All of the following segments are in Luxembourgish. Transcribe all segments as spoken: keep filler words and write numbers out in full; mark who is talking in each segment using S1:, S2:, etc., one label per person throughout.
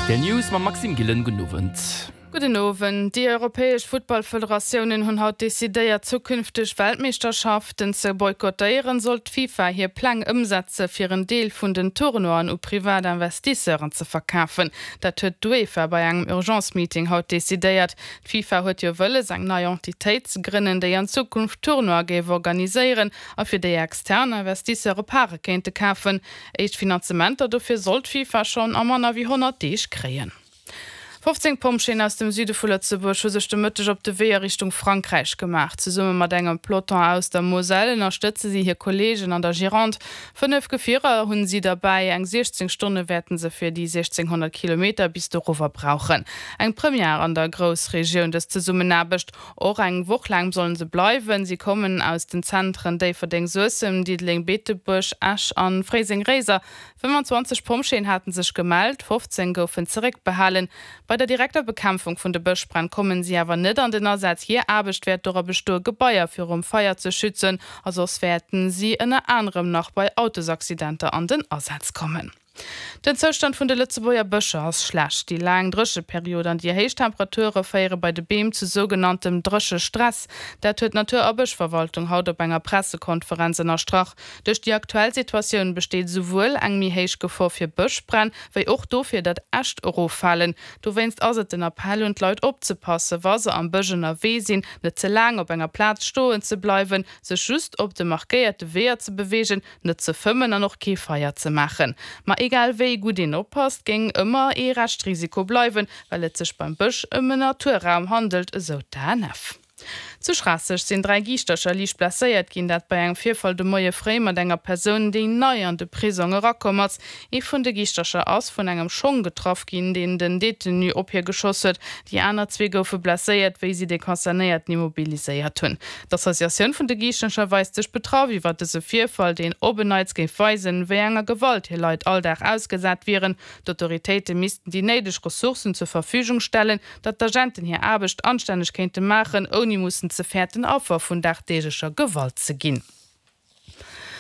S1: Rtl News mam Maxime Gillen, Gudden Owend.
S2: Gudden Owend. Déi europäesch Futtballfederatiounen hunn haut decidéiert, zukünfteg Weltmeeschterschaften ze boykottéieren, sollt d'FIFA hir Pläng ëmsetze fir en Deel vun den Tournoien u privat Investisseuren ze verkafen. Dat huet d'UEFA bei engem Urgence-Meeting haut decidéiert. D'FIFA huet jo wëlles, eng nei Entitéit ze grënnen, déi an Zukunft Tournoie géif organiséieren a fir déi extern Investisseure Pare kéinte kafen. Éischt Finanzementer dofir soll d'FIFA schonn a manner wéi honnert Deeg kréien. Fofzéng Pompjeeën aus dem Süde vu Lëtzebuerg hu sech de Mëtteg op de Wee a Richtung Frankräich gemaach. Zesumme mat engem Peloton aus der Moselle ënnerstëtze si hir Kolleegen an der Gironde. Fënnef Gefierer hunn si derbäi. Eng siechzéng Stonne wäerten se fir déi siechzénghonnert Kilometer bis dorower brauchen. Eng Première an der Groussregioun, dës Zesummenaarbecht. Och eng Woch laang sollen se bleiwen. Si kommen aus den Zentren Déifferdeng-Suessem, Diddeleng-Beetebuerg, Esch an Fréiseng-Réiser. fëffanzwanzeg Pompjeeën haten sech gemellt, fofzéng goufen zeréckbehalen. Bei der direkter Bekämpfung vun de Bëschbränn kommen si awer net an den Asaz. Hir Aarbecht wäert dora bestoe Gebaier virum Feier ze schützen a soss wäerten si ënner anerem nach bei Autosaccidenter an den Asaz kommen. Den Zoustand vun de Lëtzebuerger Bëscher ass schlecht. Déi laang Drécheperiod an déi héich Temperature féiere bei de Beem zu sougenanntem Dréchestress. Dat huet d'Natur a Bëschverwaltung haut op enger Pressekonferenz ënnerstrach. Duerch déi aktuell Situatioun besteet esouwuel eng méi héich Gefor fir Bëschbränn, wéi och dofir, datt Äscht eroffalen. Dowéinst ass et den Appell un d'Leit opzepassen, wa se am Bësch ënnerwee sinn, net ze laang op enger Plaz stoen ze bleiwen, sech just op de markéierte Weeër ze beweegen, net ze fëmmen an och kee Feier ze maachen. Ma egal wéi gutt een oppasst, géing ëmmer ee Reschtrisiko bleiwen, well et sech beim Bësch ëm en Naturraum handelt, esou d'ANF. Zu Schraasseg sinn dräi Giischtercher liicht blesséiert ginn, dat bei engem Virfall de Moie fréi mat enger Persoun, déi nei an de Prisong erakomm ass. Ee vun de Giischtercher ass vun engem Schong getraff ginn, deen den Detenu op hie geschoss huet. Déi aner zwee goufe blesséiert, wéi si de Concernéierten immobiliséiert hunn. D'Associatioun vun de Giischtercher weist sech betraff iwwer dëse Virfall, deen op en Neits géif weisen, wéi enger Gewalt hir Leit all Dag ausgesat wieren. D'autoritéite missten déi néideg Ressourcen zur Verfügung stellen, datt d'Agenten hir Aarbecht anstänneg kéinte maachen, ouni mussen ze fäerten, Affer vun dagdeeglecher Gewalt ze ginn.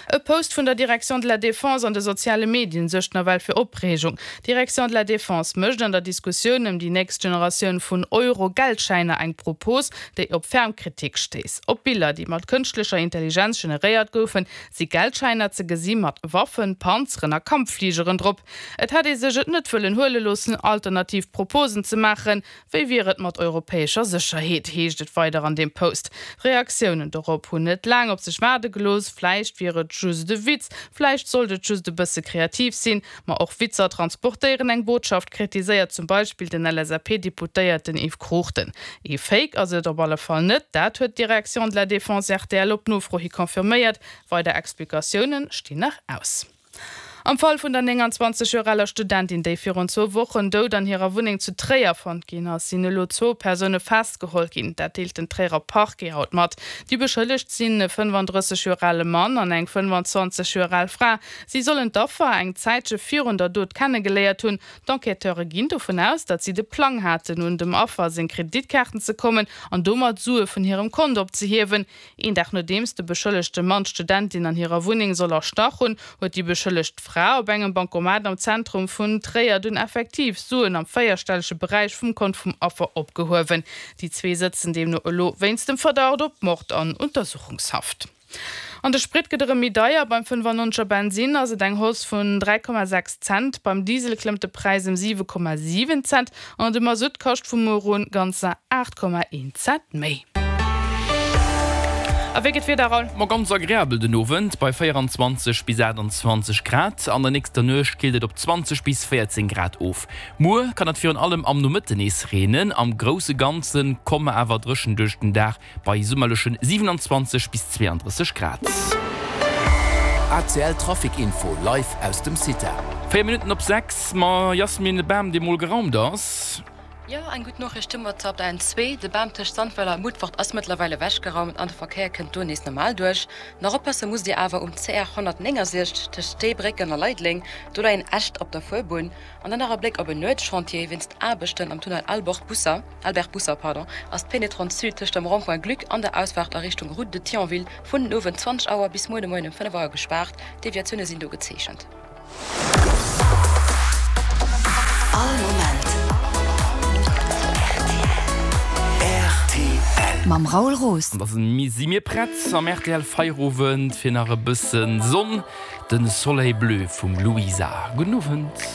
S2: E Post vun der Direction de la Défense an de soziale Medien suergt nawell fir Opreegung. D'Direction de la Défense mécht an der Diskussioun ëm déi nächst Generatioun vun Euro-Geldschäiner eng Propos, déi op ferm Kritik stéisst. Op Biller, déi mat kënschtlecher Intelligenz generéiert goufen, si Geldschäiner ze gesi mat Waffen, Panzeren a Kampffligeren drop. Et hätt ee sech et net wëllen huele loossen, alternativ Proposen ze maachen. Wéi wier et mat europäescher Sécherheet, heescht et weider an deem Post. Reaktiounen dorop hunn net laang op sech waarde gelooss, Vläicht wier et just e Witz, vläicht sollt et just e bësse kreativ sinn. Ma och Witzer transportéieren eng Botschaft, kritiséiert zum Beispill den L S A P-Deputéierten Yves Cruchten. Ee Fake ass et op alle Fall net, dat huet d'Direction de la Défense R T L op Nofro hi confirméiert. Weider Explikatioune stinn nach aus. Am Fall vun der nénganzwanzeg Joer aler Studentin, déi virun zwou Wochen dout an hirer Wunneng zu Tréier fonnt ginn ass, sinn elo zwou Persoune festgeholl ginn. Dat deelt den Tréierer Parquet haut mat. Déi Beschëllegt sinn e fënnefandrësseg Joer ale Mann an eng fënnfanzwanzeg Joer al Fra. Si sollen d'Affer eng Zäitche virun der Dot kennegeléiert hunn. D'Enquêteure ginn dovun aus, datt si de Plang haten, un dem Affer seng Kreditkaarten ze kommen an domat Sue vun hirem Kont opzehiewen. Een Dag nodeems de beschëllegte Mann d'Studentin an hirer Wunneng soll erstach hunn, huet déi beschëllegt Fra op engem Bancomat am Zentrum vun Tréier dunn effektiv Suen am véierstellege Beräich vum Kont vum Affer opgehuewen. Déi zwee sëtzen deemno elo wéinst dem Verdacht op Mord an Untersuchungshaft. An de Sprit gëtt erëm méi deier, Beim fënnefannonzeger Bensinn ass et eng Hausse vun dräi Komma sechs Cent, beim Diesel klëmmt de Präis ëm siwe Komma siwen Cent an de Masutt kascht vu muer un ganzer aacht Komma een Cent méi. A wéi gëtt d'Wieder, Raoul?
S1: Ma ganz agreabel den Owend bei véieranzwanzeg bis aachtanzwanzeg Grad. An der nächster Nuecht killt et op zwanzeg bis véierzéng Grad of. Muer kann et virun allem am Nomëtten nees reenen, am grousse Ganze komme mer awer dréchen duerch den Dag bei summerleche siewenanzwanzeg bis zweeandrësseg Grad.
S3: R T L Trafic Info live aus dem CITA.
S1: Véier Minutten op sechs, ma Jasmin, e Bam dee mol geraumt ass.
S4: Jo, eng gutt Noriicht hu mer op der N zwee. De Bam tëscht Sandweiler a Mutfert ass mëttlerweil ewechgeraumt an de Verkéier kënnt do nees normal duerch. Nach oppasse musst Dir awer um C R honnertnéngensechzeg tëscht Steebrécken a Leideleng, do leien Äscht op der Fuerbunn. An dann nach e Bléck op en Nuetschantier, Wéinst Aarbechten am Tunnel Albert Busser, Albert Busser, pardon, ass d'Pénétrante Sud tëscht dem Rond-point Gluck an der Ausfaart a Richtung Route de Thionville vun den Owend zwanzeg Auer bis muer de Moien um fënnef Auer gespaart. Deviatioune sinn do gezeechent.
S5: All Moment Mam Raoul Roos.
S1: An da si mir prett am rtl Feierowend fir nach e bëssen Sonn, den Soleil Bleu vum Louisa. Gudden Owend.